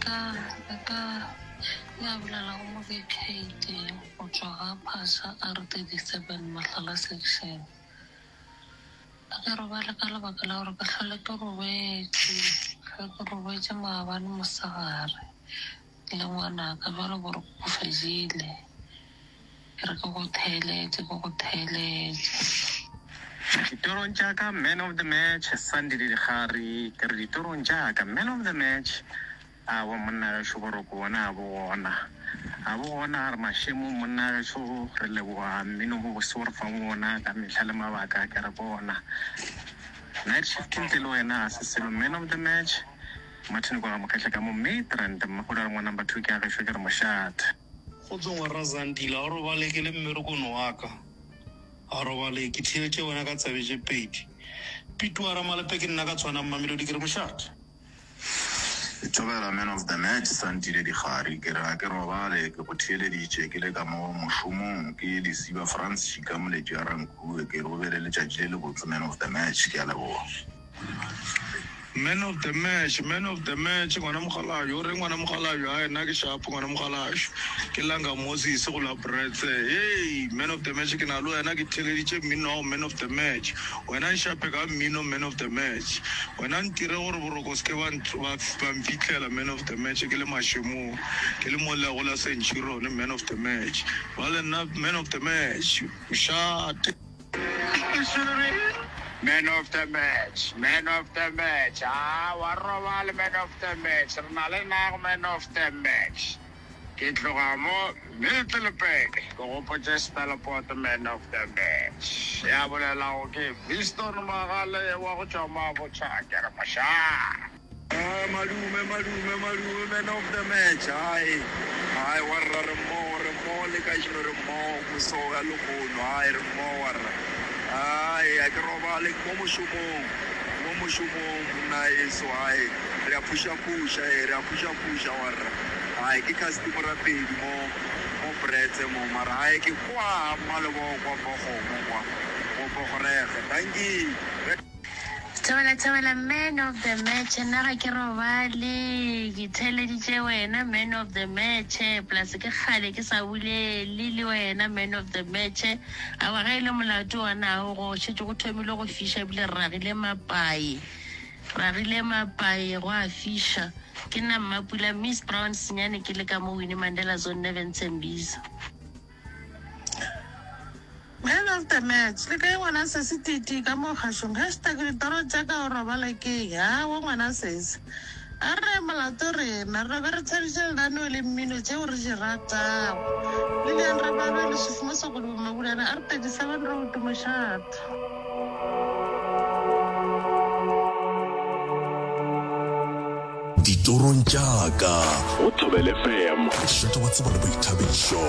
ka le ka ya bolelago mo ke Kate go tšwa ga Phasha R37 Mahlala Section. Ga ke robale ka lebaka la gore ke hlole ke robetše, hlwe ke robetše maabane mosegare le ngwanaka bjalo boroko bo fedile. Ke re ke go theeletše, ke go theeletše. Ditorong tša ka man of the match Sandile Dikgari ke re ditorong tša ka man of the match Aowa monna gešo boroko bona a bo gona a bo gona re mašemong monna gešo re leboga mmino mo bose o re fang wona ka mehla le mabaka ke re bona night shift ntle le wena ga se selo man of the match Martin kwa ga Mokgehla ka mo Midrand mmagolo a re ngwa number 2 ke a gešo ke re mošate. Kgotso ngwera Zandile, a o robale ke le mmerekong wa ka. A robale ke theeletše wena ka tsebe tše pedi. Pituwa Ramalepe ke nna ka tshwana Mamelodi ke re mošate. Thobela man of the match Santile Dikgari ke re ga ke robale ke go theeleditše ke le ka mo mošomong ke Lesiba Frans Šika Moletši a Rankuwe ke re o be le letšatši le lebotse man of the match ke a leboga. Man of the match, man of the match, ngwana mokgalabje, o reng ngwana mokgalabje, hai nna ke sharp ngwana mokgalabje, ke Langa Moses go la Bretse, hey, man of the match ke na le wena ke theeleditše mmino wa go man of the match, wena nshape ka mmino man of the match, wena ntire gore boroko se ke ba ba ba mfihlela man of the match ke le mašemong, ke le mo le go la Centurion man of the match, ba le nna man of the match, mošate. Man of the match, man of the match, ah wa robale man of the match, re na le nago man of the match. Ke tloga mo Middelburg, ke gopotše Stellapoort man of the match. Ya bolelago ke Viston Magale wa go tšwa Mabotja, ke re mošaa. Ah, madume, madume, madume, man of the match. Hai, hai, warra re mmogo, re mmogo le kajeno re mmogo moso ya lehono. Hai, re mmogo warra. Hai, a ke robale ke mo mošomong, ke mo mošomong monna eso. Hai, re a phuša-phuša, eh, re a phuša-phuša warra. Hai, ke customer morapedi mo, mo Bretse mo, mara hai ke kwa Mmalebogo kwa Bogomo kwa, mo Bogorege. Dankie. Thobela thobela man of the match nna ga ke robale ke theeleditše wena man of the match plus ke kgale ke sa bolele le wena man of the match awa ge e le molato wona ao go šetše go thomile go fiša ebile re ragile mapai ragile mapai go a fiša ke nna mmapula miss brown senyane ke le ka mo winnie mandela zone 9 Tembisa. Man of the match, le kae ngwana sesi TT ka mo kgašong hashtag ditoro tša ka o robala ke eng awa ngwana sesi a re molato rena re be re thabiša lenaneo le mmino tšeo re di ratago Lilian Rabalwe Leswifi mo Sokolobo Mabulana R 37 Road Mošate. Ditorong tša ka. Go Thobela FM. Mošate wa tsebo le boithabišo.